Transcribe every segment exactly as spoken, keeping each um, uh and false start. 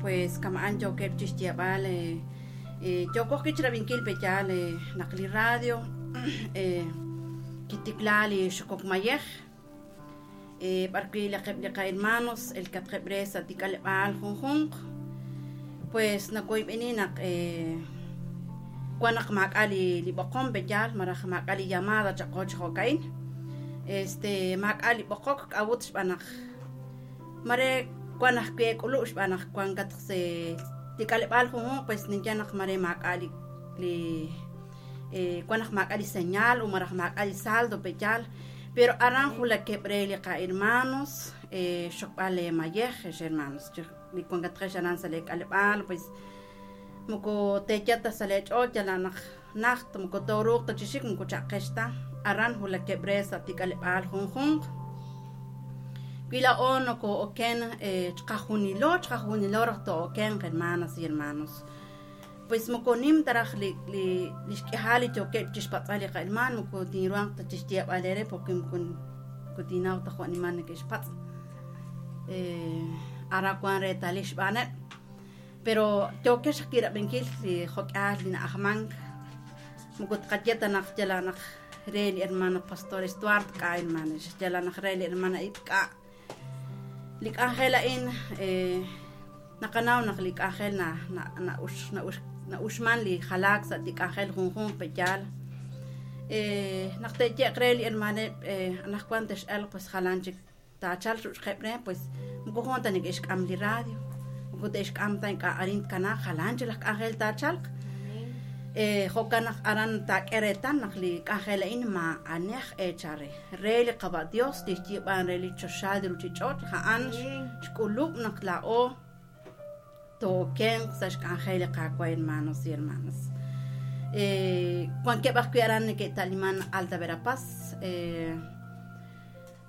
Pues kama'an yookeb' chixyeeb'al eh, eh, yooko ajwi' chirab'inkil peyaal eh, naq li radio eh, kitikla li xokok mayej eh, b'ar wi' laqeb' li qa-hermanos elkatqeb' re sa' tik'aleb'aal junjunq pues nakoyb'eni naq eh, wan naq maak'a' li li b'oqom peyaal malaj maak'a' li llamada chaqo chi jo'ka'in este maak'a' li b'oqok k'a'ut xb'aan naq mare wan ajwi' k'ulub' xb'aan naq wan katq se tik'aleb'aal junjunq pues ninye naq mare maak'a' li li eh, wan naq maak'a' li señal o malaj maak'a' li saldo peyaal pero aran julakeb' re li qa-hermanos eh, xokb'al le mayej ex hermanos li wan katqex aran sa' le k'aleb'aal pues moko teeyata sa' le ch'och' yala naq najt moko tooruuq ta chi xik moko cha'qex ta aran julakeb' re sa' tik'aleb'aal junjunq wi la'o noko'oken eh, chqajunilo chqajunilo raj to'okenq hermanas y hermanos pues moko nim ta raj li li li xk'ijal li yookeb' chixpatz'al li qa'herman moko tinruhanq ta chixyeeb'al eere porque moko moko tinnaw ta jo' nimal neke'xpatz' eh, ara wan reetalil xb'aaneb' pero yookex kirab'inkil li jok'aal li na'ajmank moko tqaye ta naq yala naq re li hermano pastor Stuart k'a hermano yala naq re li hermana Ip k'a li k'anjel a'in eh, naqanaw naq li k'anjel na na na'ux na'ux na'uxman li jalaak sa' li k'anjel junjunq peyaal eh, naq te'ye'q re li hermaneb' eh, anaqwan tex'elq pues jalan chik taachalq ru'xqeb' re pues moko jun ta neke'xk'am li radio moko te'xk'am ta ink'a' arin tkanaaq jalan chik laj k'anjel taachalq eh, jo'kan naq aran taak'e reetal naq li k'anjel a'in ma'anej eechal re re li Qaba' Dios tixyiib'an re li choxaal li ruchich'och' ja'an xk'ulub' naq la'o tookenq sa' xk'anjel li Qaawa' hermanos y hermanas eh, wankeb' ajwi' aran neke'ta'liman Alta Verapaz eh,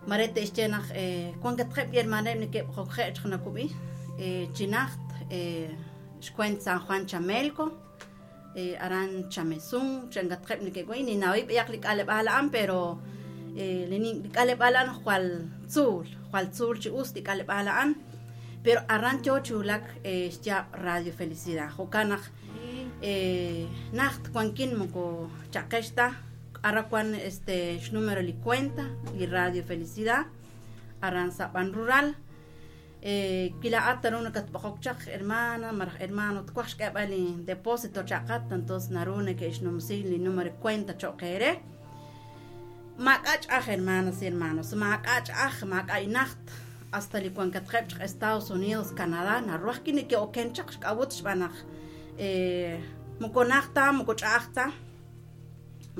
mare te'xye naq eh, wankatqeb' li hermaneb' neke'jokje' chaq nakub'i eh, chi najt eh, xkuent San Juan Chamelco eh, aran Chamesun changatqeb' neke'way ninawib' b'ayaq li k'aleb'aal a'an pero eh, li li k'aleb'aal a'an jwal tzuul jwal tzuul chi us li k'aleb'aal a'an pero aran yoo chi wulak eh, xyaab' Radio Felicidad jo'kan naq eh, najt wankin moko chaqex ta ara wan este xnumero li cuenta li Radio Felicidad aran sa' Ban Rural eh, kila'at naru nakatb'oqok chaq hermana malaj hermano twaj xk'eeb'al li depósito chaqat entonces naru neke'xnumsi li número cuenta cho'q eere maak'a' ch'aj hermanas y hermanos maak'a' ch'aj maak'a' inajt hasta li wankatqeb' chaq Estados Unidos Canadá naru ajwi' neke'oken chaq xk'awut xb'aan naq eh, moko najt ta moko ch'a'aj ta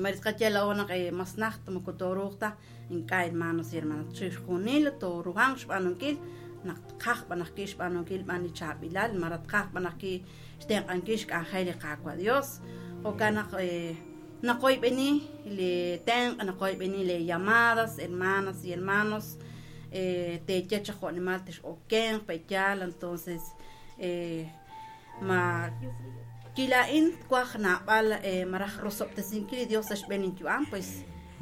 marit qaye la'o naq eh, mas najt moko tooruuq ta ink'a' hermanos y hermanas chixjunil tooruhanq xb'aanunkil naq tqaj b'an ajwi' xb'aanunkil b'an li chaab'ilal mara tqaj b'an ajwi' xtenq'ankil xk'anjel li Qaawa' Dios jo'kan naq eh, naqoyb'eni li tenq' naqoyb'eni le llamadas hermanas y hermanos eh, teeye chaq jo'nimal tex'okenq peyaal entonces eh, ma kila'in twaj naab'al eh, malaj rosob'tesinkil li Dios sa' xb'een inyu'am pues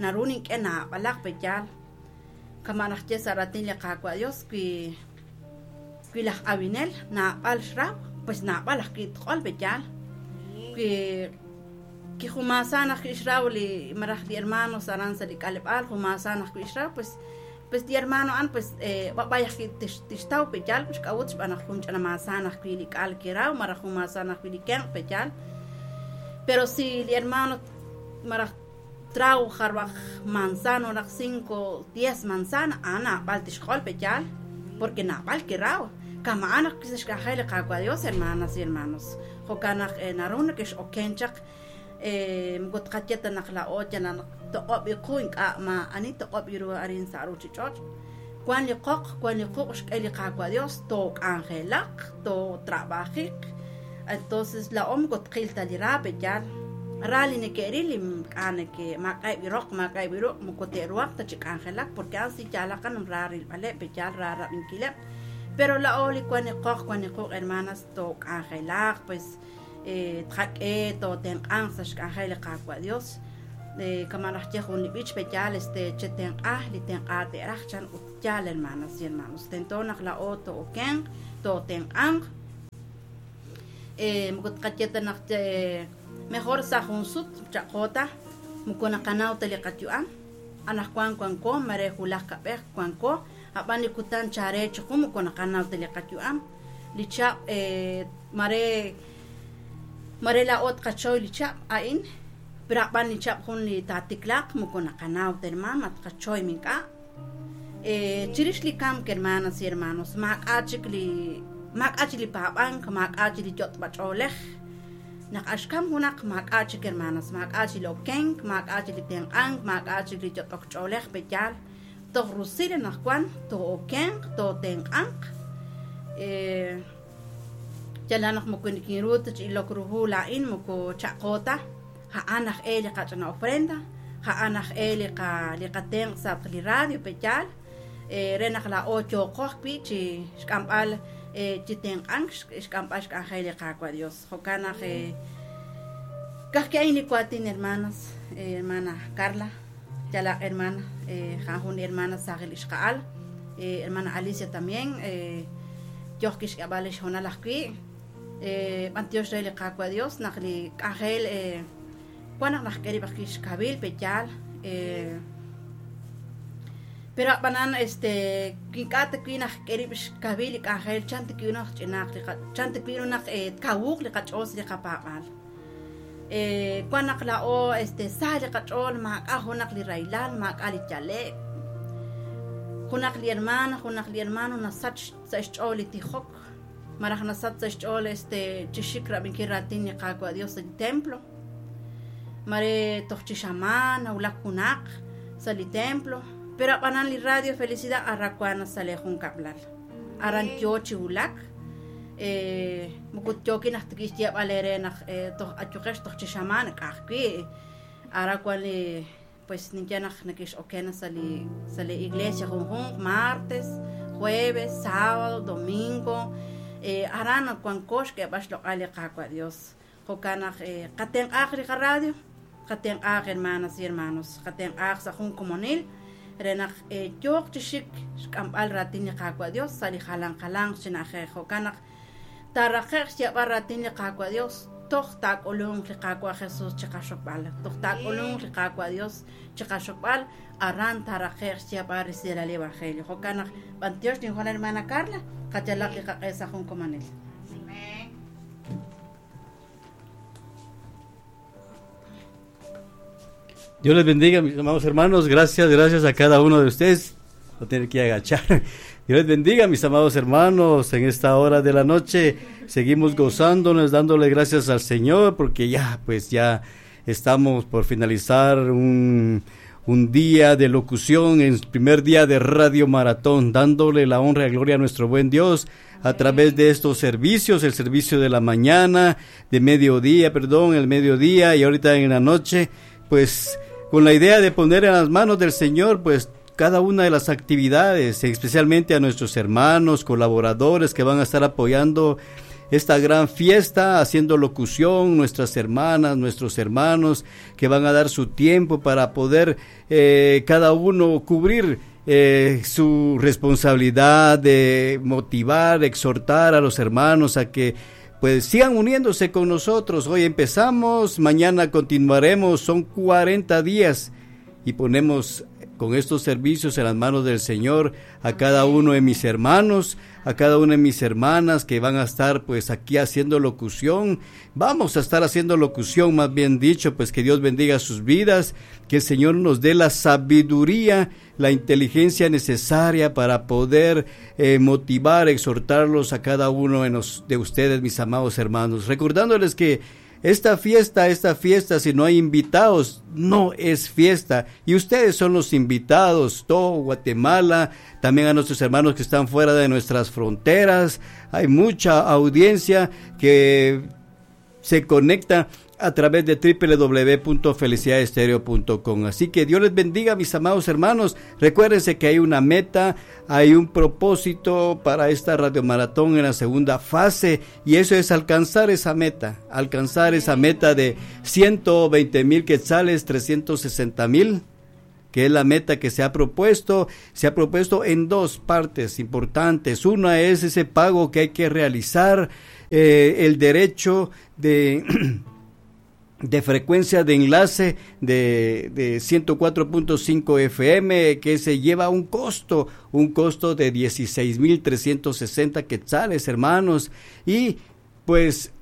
naru nink'e naab'alaq peyaal kama' naj ye sa' raatin li Qaawa' Dios wi wi laj awinel naab'al xraw pues naab'al ajwi' tq'ol peyaal wi kijumaasaan ajwi' xraw li malaj li hermanos aran sa' li k'aleb'aal jumaasaan ajwi' xraw pues pues li hermano a'an pues eh, b'ab'ay ajwi' tix tixtaw peyaal xk'awut xb'aan naq jun ch'anamaasaan ajwi' li k'al kiraw malaj jumaasaan ajwi' li kenq' peyaal pero si li hermano malaj traw jarb'aj manzano raj cinco diez manzana a'an naab'al tixq'ol peyaal porque naab'al kiraw kama'an ajwi' sa' xk'anjel li Qaawa' Dios hermanas y hermanos jo'kan naq eh, naru neke'x'oken chaq eh, moko tqaye ta naq la'o yal naq toq'ob' iqu ink'a' ma'ani toq'ob' iru arin sa' ruchich'och' wan li qoq wan li quq' xk'e li Qaawa' Dios took'anjelaq tootrabajiq entonces la'o moko tqil ta li ra peyaal ra li neke'ril li k'a neke maak'a'eb' roq maak'a'eb' ruq' moko te'ruhaq ta chi k'anjelak porque a'an si yaalaqan ra rilb'aleb' peyaal ra rab'inkileb' pero la'o li wan li qoq wan li quq' hermanas took'anjelaq pues eh, tqak'e tootenq'anq sa' xk'anjel li Qaawa' Dios eh, kama' naj ye jun li b'ich peyaal este chetenq'aj li tenq'a te'raj chan ut yaal hermanas y hermanos tento naq la'o to'okenq tootenq'anq Moko tqaye ta naq mejor sa' jun sut chaq'o ta moko naqanaw ta li qayu'am anaqwan wanko mare wulaj kab'ej wanko ab'an li kutan chare chiqu moko naqanaw ta li qayu'am li chab' mare mare la'o tqachoy li chab' a'in pero ab'an li chab' jun li taatiklaq moko naqanaw ta hermano ma tqachoy mink'a' chirix li kamk hermanas y hermanos maak'a' chik li maak'a' chik li paab'ank maak'a' chik li yot'b'ach'oolej naq axkam junaq maak'a' chik hermanas maak'a' chik li okenk maak'a' chik li tenq'ank maak'a' chik li yot'ok ch'oolej peyaal toj rusil anaqwan too'okenq tootenq'anq yala naq moko nikinru ta chi ilok ru hu la'in moko chaq'o ta ja'an aj e li qach'ana ofrenda ja'an aj e li qa li qatenq' sa' li radio peyaal re naq la'o yooqo ajwi' chi xk'amb'al chi tenq'ank xk'amb'al xk'anjel li Qaawa' Dios jo'kan naq kajki a'in li waatin hermanas hermana Carla yalaq hermana ja'an jun hermana saajil ixqa'al hermana Alicia también yoj kixk'ab'al li xjonal ajwi' b'antiox re li Qaawa' Dios naq li k'anjel wan naq najk'e rib' ajwi' xkawil peyaal pero ab'anan este kink'a' ta wi' najk'e rib' xkawil li k'anjel chan ta wi' naq ch'inaaq li chan ta wi' naq tkawuq li qach'ool sa' li qapaab'aal wan naq la'o este sa li qach'ool maak'a' junaq li rahilal maak'a' li yale'k junaq li hermana junaq li hermano nasach sa' xch'ool li tijok maraj nasach sa' xch'ool este chi xik rab'inkil raatin li Qaawa' Dios sa' li templo mare toj chi xamaan nawulak junaq sa' li templo pero ab'anan li Radio Felicidad arrakuana sa' li junkab'lal aran yoo chi wulak moko yookin aj tikix xyeeb'al eere naq toj ayuqex toj chi xamaan k'ajwi' ara wan li pues ninye naq nakix'okena sa' li sa' li iglesia junjunq martes jueves sábado domingo aran wanko xk'eeb'al xloq'al li Qaawa' Dios jo'kan naq qatenq'aaq li qaradio qatenq'aaq hermanas y hermanos qatenq'aaq sa' jun komonil re naq yooq chi xik xk'amb'al raatin li Qaawa' Dios sa' li jalan jalanq chi na'ajej jo'kan naq taaraqe'q xyeeb'al raatin li Qaawa' Dios toj taak'ulunq li Qaawa' Jesús chi qaxokb'al toj taak'ulunq li Qaawa' Dios chi qaxokb'al aran taaraqe'q xyeeb'al resilal li evangelio jo'kan naq b'antiox ninjun hermana Carla qachalaq li qaq'e sa' jun komonil. Dios les bendiga, mis amados hermanos. Gracias, gracias a cada uno de ustedes. No tienen que agachar. Dios les bendiga, mis amados hermanos. En esta hora de la noche seguimos gozándonos, dándole gracias al Señor, porque ya, pues ya estamos por finalizar un, un día de locución, el primer día de Radio Maratón, dándole la honra y gloria a nuestro buen Dios a través de estos servicios, el servicio de la mañana, de mediodía, perdón, el mediodía y ahorita en la noche, pues con la idea de poner en las manos del Señor, pues cada una de las actividades, especialmente a nuestros hermanos, colaboradores que van a estar apoyando esta gran fiesta, haciendo locución, nuestras hermanas, nuestros hermanos que van a dar su tiempo para poder eh, cada uno cubrir eh, su responsabilidad de motivar, exhortar a los hermanos a que pues sigan uniéndose con nosotros. Hoy empezamos, mañana continuaremos, son cuarenta días y ponemos con estos servicios en las manos del Señor a cada uno de mis hermanos, a cada una de mis hermanas que van a estar pues aquí haciendo locución. Vamos a estar haciendo locución, más bien dicho, pues que Dios bendiga sus vidas, que el Señor nos dé la sabiduría, la inteligencia necesaria para poder eh, motivar, exhortarlos a cada uno de, nos, de ustedes, mis amados hermanos. Recordándoles que esta fiesta, esta fiesta, si no hay invitados, no es fiesta. Y ustedes son los invitados, todo Guatemala, también a nuestros hermanos que están fuera de nuestras fronteras. Hay mucha audiencia que se conecta a través de doble u doble u doble u punto felicidad estereo punto com. Así que Dios les bendiga, mis amados hermanos. Recuérdense que hay una meta, hay un propósito para esta Radio Maratón en la segunda fase, y eso es alcanzar esa meta, alcanzar esa meta de ciento veinte mil quetzales, trescientos sesenta mil, que es la meta que se ha propuesto. Se ha propuesto en dos partes importantes. Una es ese pago que hay que realizar eh, el derecho de de frecuencia de enlace de, de ciento cuatro punto cinco F M, que se lleva un costo, un costo de dieciséis mil trescientos sesenta quetzales, hermanos. Y pues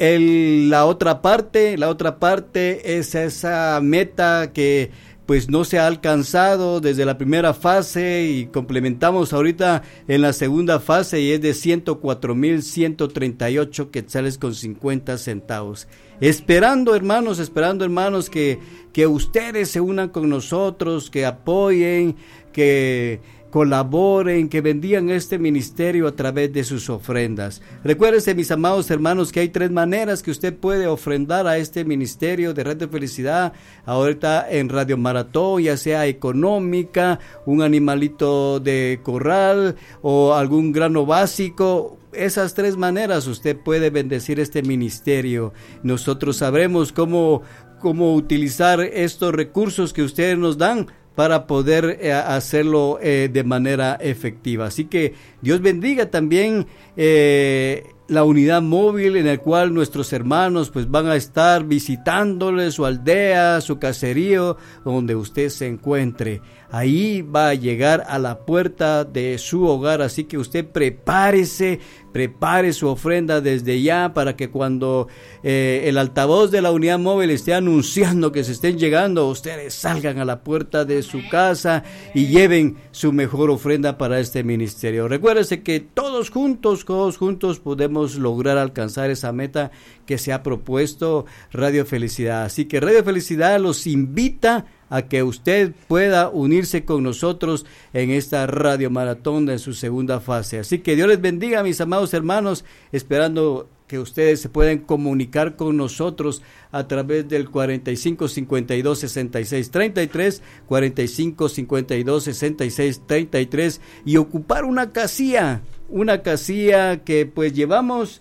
el, la otra parte, la otra parte es esa meta que pues no se ha alcanzado desde la primera fase, y complementamos ahorita en la segunda fase, y es de ciento cuatro mil ciento treinta y ocho quetzales con cincuenta centavos. Esperando, hermanos, esperando, hermanos, que, que ustedes se unan con nosotros, que apoyen, que colaboren, que bendigan este ministerio a través de sus ofrendas. Recuérdense, mis amados hermanos, que hay tres maneras que usted puede ofrendar a este ministerio de Red de Felicidad ahorita en Radio Maratón, ya sea económica, un animalito de corral o algún grano básico. Esas tres maneras usted puede bendecir este ministerio. Nosotros sabremos cómo, cómo utilizar estos recursos que ustedes nos dan para poder eh, hacerlo eh, de manera efectiva. Así que Dios bendiga también eh, la unidad móvil en la cual nuestros hermanos pues van a estar visitándole su aldea, su caserío, donde usted se encuentre. Ahí va a llegar a la puerta de su hogar, así que usted prepárese, prepare su ofrenda desde ya para que cuando eh, el altavoz de la unidad móvil esté anunciando que se estén llegando, ustedes salgan a la puerta de su casa y lleven su mejor ofrenda para este ministerio. Recuérdese que todos juntos, todos juntos podemos lograr alcanzar esa meta que se ha propuesto Radio Felicidad. Así que Radio Felicidad los invita a que usted pueda unirse con nosotros en esta Radio Maratón en su segunda fase. Así que Dios les bendiga, mis amados hermanos, esperando que ustedes se puedan comunicar con nosotros a través del cuarenta y cinco, cincuenta y dos, sesenta y seis, treinta y tres, cuarenta y cinco, cincuenta y dos, sesenta y seis, treinta y tres, y ocupar una casilla, una casilla que pues llevamos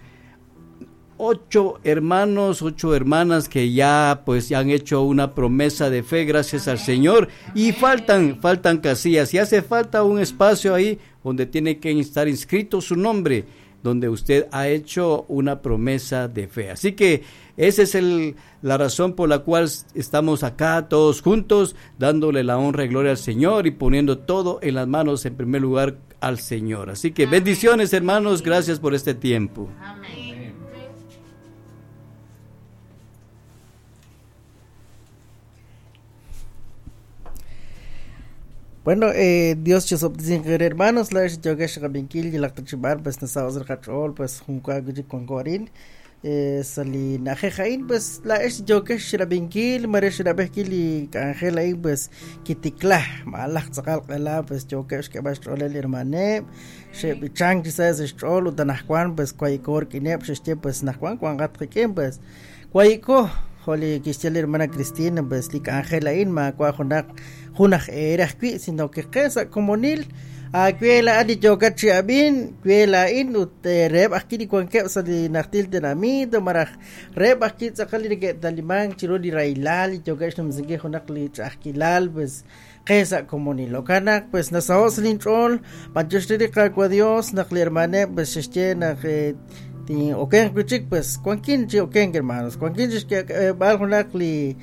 ocho hermanos, ocho hermanas que ya pues ya han hecho una promesa de fe gracias al Señor, y faltan, faltan casillas, y hace falta un espacio ahí donde tiene que estar inscrito su nombre, donde usted ha hecho una promesa de fe. Así que esa es el, la razón por la cual estamos acá todos juntos, dándole la honra y gloria al Señor y poniendo todo en las manos, en primer lugar, al Señor. Así que bendiciones, hermanos, gracias por este tiempo. Amén. Bueno, eh, Dios chosoptizin hermanos, la yogesh rabinkil y la tachibar, pues nasaos el cachol, pues junco con corin, eh, sali najejain, pues la es yogesh rabinkil, maresh rabekil y angel ahí, pues kitikla, malach tzakal qela, pues yogesh que vas trolel hermane, she bichang quizás es trol, utanajcuan, pues cuaycor kinep, she pues najcuan, cuan gatriquem, pues cuayco, joli quistel hermana Cristina, pues lik angel ahí, ma cuajonak. Junaj erajkui, sino que qesa como nil akuela ani yokachi abin kuela in ut reb akiri kuanke sali nachtil tenamito maraj reb akki tzakali que talimán chiruli railal yokash numzinke junaq li chajkilal pues qesa como nil okanak pues nasaos linchol panchoshtiri qakwa Dios naq li hermane pues xche naq ti oken kuchik pues kuankin chi oken hermanos kuankin que bal junaq li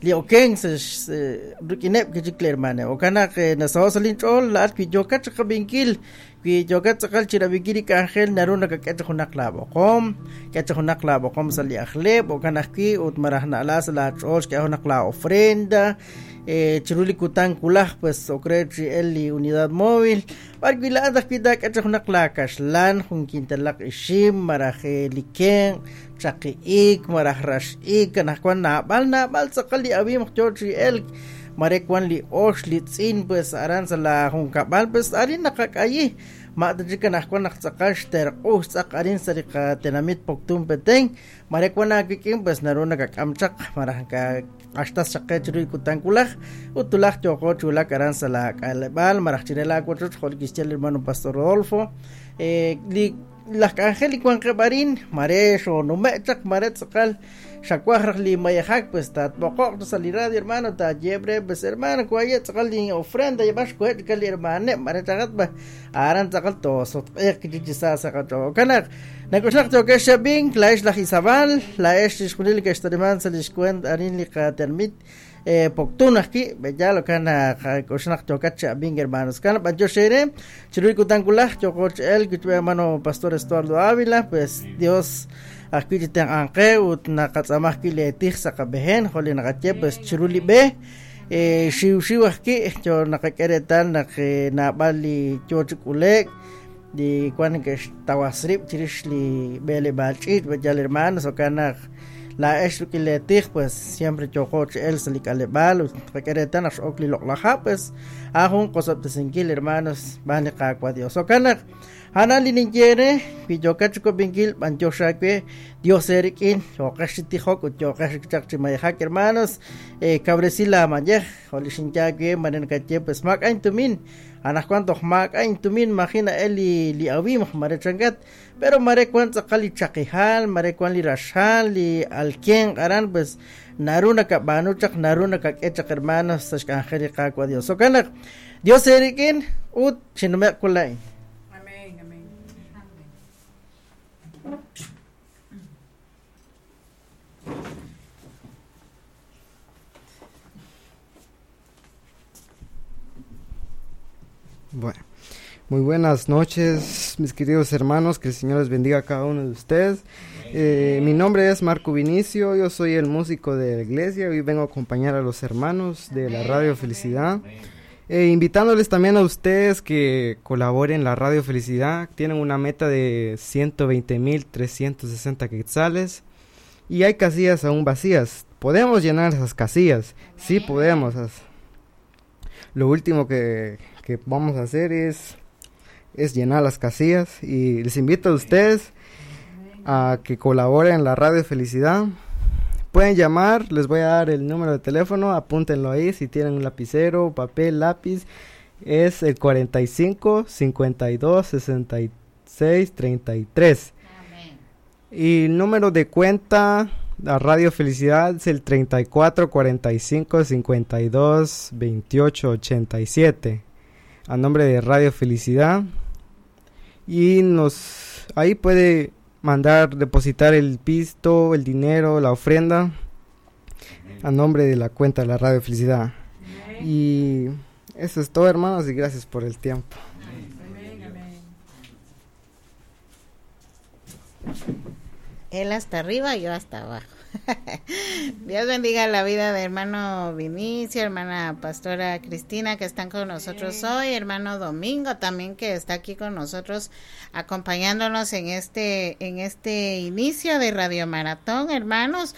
li oken se rukinep que chikle hermana okana que nasaos linchol la pi yoka chakabinkil pi yoka chakal chirabikiri angel naruna ka kach junak la boqom kach junak la boqom sali akhleb okana ki ut marahna las la chol que junak la ofrenda eh chiruli kutan kulaj pues okrechi el unidad móvil parquila dak kach junak la kashlan jun quintalak ishim maraje liken chaqiik maraj raxik kanajkuan nab'al nab'al tzaqal li abim chochi el marekuan li ox li tz'in pues aran sa la junkab'al pues arin naqak'ayi ma'tachik kanajkuan naq tzaqal xterq'uj tz'aq arin sa li qatenamit Poptún Petén marekuan akik'in pues naru nakak'amchaq maraj ka q'axtas chaqe chiruy kutankulaj utulaj yoqo chulak aran sa la k'aleb'al maraj chirel akwachoch jol kixchel hermano Pastor Rodolfo eh li las angel y cuanquebarín marecho no me chak maretzakal xacuajraj li mayajak pues ta poco salir radio hermano ta yebre pues hermano cuaya tzakal li ofrenda llevas cuet kal hermane marechagat ba aran tzakal to sot ek chichisa sakato kanak Nak'uxlaq yokex xab'ink la'ex laj Isabal la'ex chixjunil li ke'xtariman sa' lix kuent arin li qatermit eh, Poptún ajki b'eyal okan k'uxnaq yokat xab'ink hermanos kan b'antiox ere chiru li kutan kulaj yoqoch el kuchbe hermano pastor Estuardo Ávila pues Dios ajwi' chi tenq'anqe ut naqatz'amaj ki le tij sa' qab'ejen jo li naqaye pues chiru li b'e eh, xiw xiw ajki yo naqak'e reetal naq eh, naab'al li yo chi k'ulek li wan ke'xtawasrib' chirix li b'eleb'aal ch'iich' b'eyal hermanos okan naq la'ex rik'in le tij pues siempre yoqo chi el sa' li k'aleb'aal ut qak'e reetal naq x'ok li loq'laj ha' pues a jun qosob'tesinkil hermanos b'an li Qaawa' Dios okan naq Ana li ninye wi yokat chikob'inkil b'antiox aawe Dios erik'in yoqex chi tijok ut yoqex chaq chi mayejak hermanos eh, kabresi la mayej jo li xinye aawe mare nakaye pues maak'a intumin anajwan toj maak'a intumin majina el li li awimaj mare chankat pero mare wan tz'aqal li chaqijal mare wan li raxal li alkien aran pues naru nakab'aanu chaq naru nakak'e chaq hermanos sa' xk'anjel li Qaawa' Dios okan naq Dios erik'in ut chinume'q kula'in. Amén, amén. Bueno, muy buenas noches, mis queridos hermanos, que el Señor les bendiga a cada uno de ustedes. Eh, mi nombre es Marco Vinicio, yo soy el músico de la iglesia, hoy vengo a acompañar a los hermanos de la Radio Felicidad. Eh, invitándoles también a ustedes que colaboren en la Radio Felicidad, tienen una meta de ciento veinte mil trescientos sesenta quetzales y hay casillas aún vacías. Podemos llenar esas casillas, sí podemos. Lo último que, que vamos a hacer es, es llenar las casillas y les invito a ustedes a que colaboren en la Radio Felicidad. Pueden llamar, les voy a dar el número de teléfono, apúntenlo ahí si tienen un lapicero, papel, lápiz. Es el cuarenta y cinco, cincuenta y dos, sesenta y seis, treinta y tres. Amén. Y el número de cuenta a Radio Felicidad es el treinta y cuatro, cuarenta y cinco, cincuenta y dos, veintiocho, ochenta y siete. A nombre de Radio Felicidad. Y nos ahí puede mandar, depositar el pisto, el dinero, la ofrenda a nombre de la cuenta de la Radio Felicidad. Amén. Y eso es todo, hermanos, y gracias por el tiempo. Amén, amén. Él hasta arriba, yo hasta abajo. Dios bendiga la vida de hermano Vinicio, hermana pastora Cristina que están con nosotros hoy, hermano Domingo también que está aquí con nosotros acompañándonos en este, en este inicio de Radio Maratón, hermanos.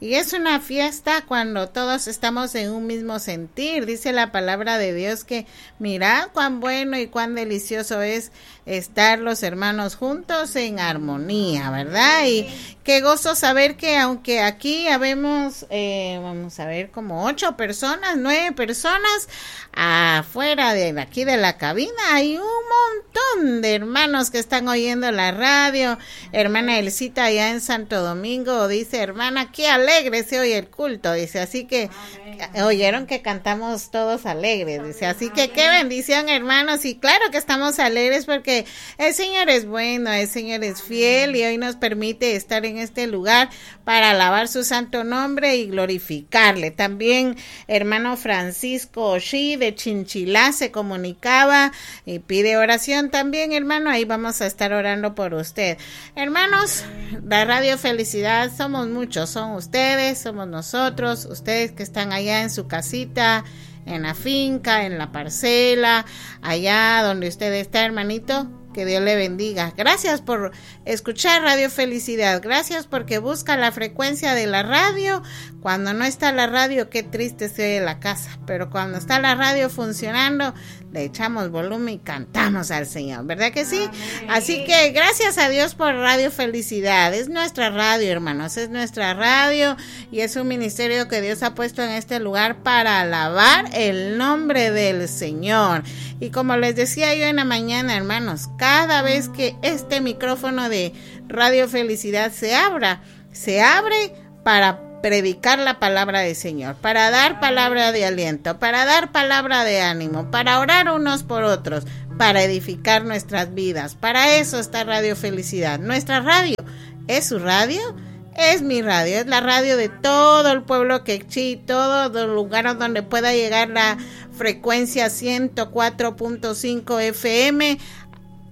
Y es una fiesta cuando todos estamos en un mismo sentir. Dice la palabra de Dios que mirad cuán bueno y cuán delicioso es estar los hermanos juntos en armonía, ¿verdad? Y qué gozo saber que aunque aquí habemos, eh, vamos a ver, como ocho personas, nueve personas, afuera de aquí de la cabina hay un montón de hermanos que están oyendo la radio. Hermana Elcita allá en Santo Domingo dice, hermana, qué alegre se oye el culto, dice, así que Amén. Oyeron que cantamos todos alegres, dice, así que qué bendición, hermanos, y claro que estamos alegres porque el Señor es bueno, el Señor es fiel y hoy nos permite estar en este lugar para alabar su santo nombre y glorificarle. También hermano Francisco Oshí de Chinchilá se comunicaba y pide oración también, hermano, ahí vamos a estar orando por usted. Hermanos, la Radio Felicidad somos muchos, son ustedes, somos nosotros, ustedes que están allá en su casita, en la finca, en la parcela, allá donde usted está, hermanito, que Dios le bendiga. Gracias por escuchar Radio Felicidad. Gracias porque busca la frecuencia de la radio. Cuando no está la radio, qué triste se oye la casa. Pero cuando está la radio funcionando, le echamos volumen y cantamos al Señor, ¿verdad que sí? Amén. Así que gracias a Dios por Radio Felicidad. Es nuestra radio, hermanos, es nuestra radio y es un ministerio que Dios ha puesto en este lugar para alabar el nombre del Señor. Y como les decía yo en la mañana, hermanos, cada vez que este micrófono de Radio Felicidad se abra, se abre para predicar la palabra del Señor, para dar palabra de aliento, para dar palabra de ánimo, para orar unos por otros, para edificar nuestras vidas. Para eso está Radio Felicidad. Nuestra radio es su radio, es mi radio, es la radio de todo el pueblo quechí, todos los lugares donde pueda llegar la frecuencia ciento cuatro punto cinco F M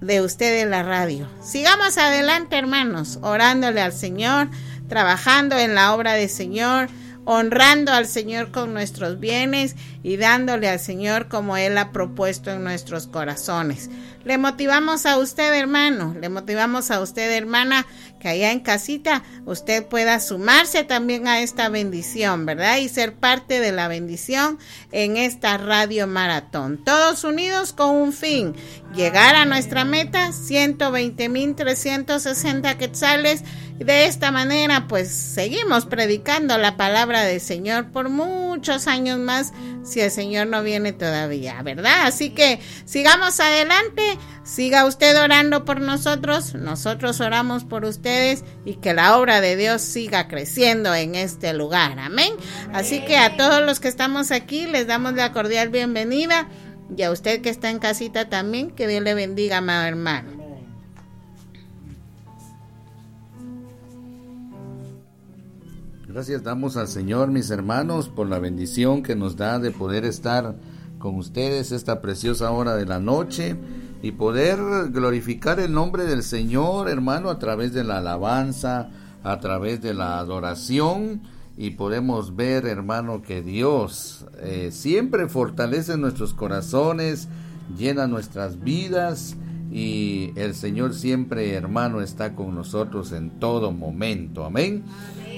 de ustedes, la radio. Sigamos adelante, hermanos, orándole al Señor, trabajando en la obra del Señor, honrando al Señor con nuestros bienes y dándole al Señor como Él ha propuesto en nuestros corazones. Le motivamos a usted, hermano, le motivamos a usted, hermana, que allá en casita usted pueda sumarse también a esta bendición, ¿verdad? Y ser parte de la bendición en esta radio maratón. Todos unidos con un fin, llegar a nuestra meta, ciento veinte mil trescientos sesenta quetzales. De esta manera, pues, seguimos predicando la palabra del Señor por muchos años más, si el Señor no viene todavía, ¿verdad? Así que sigamos adelante, siga usted orando por nosotros, nosotros oramos por ustedes y que la obra de Dios siga creciendo en este lugar, amén. Así que a todos los que estamos aquí les damos la cordial bienvenida y a usted que está en casita también, que Dios le bendiga, amado hermano. Gracias damos al Señor, mis hermanos, por la bendición que nos da de poder estar con ustedes esta preciosa hora de la noche y poder glorificar el nombre del Señor, hermano, a través de la alabanza, a través de la adoración. Y podemos ver, hermano, que Dios, eh, siempre fortalece nuestros corazones, llena nuestras vidas y el Señor siempre, hermano, está con nosotros en todo momento. Amén.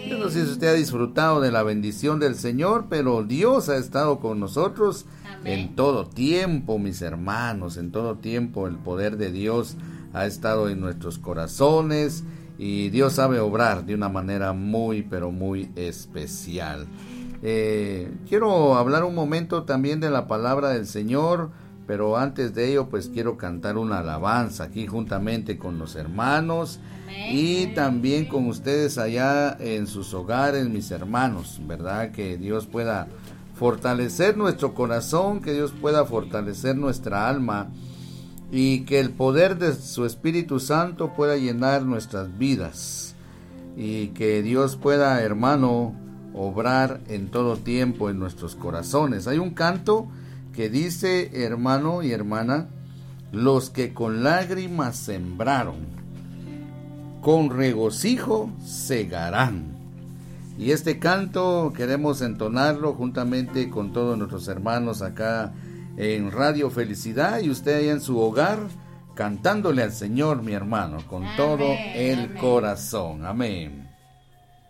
Yo no sé si usted ha disfrutado de la bendición del Señor, pero Dios ha estado con nosotros. Amén. En todo tiempo, mis hermanos, en todo tiempo el poder de Dios ha estado en nuestros corazones y Dios sabe obrar de una manera muy, pero muy especial. Eh, quiero hablar un momento también de la palabra del Señor, pero antes de ello, pues quiero cantar una alabanza aquí juntamente con los hermanos. Amén. Y también con ustedes allá en sus hogares, mis hermanos, ¿verdad? Que Dios pueda fortalecer nuestro corazón, que Dios pueda fortalecer nuestra alma y que el poder de su Espíritu Santo pueda llenar nuestras vidas y que Dios pueda, hermano, obrar en todo tiempo en nuestros corazones. Hay un canto que dice, hermano y hermana, los que con lágrimas sembraron, con regocijo segarán. Y este canto queremos entonarlo juntamente con todos nuestros hermanos acá en Radio Felicidad y usted allá en su hogar, cantándole al Señor, mi hermano, con Amén, todo el amén. Corazón. Amén.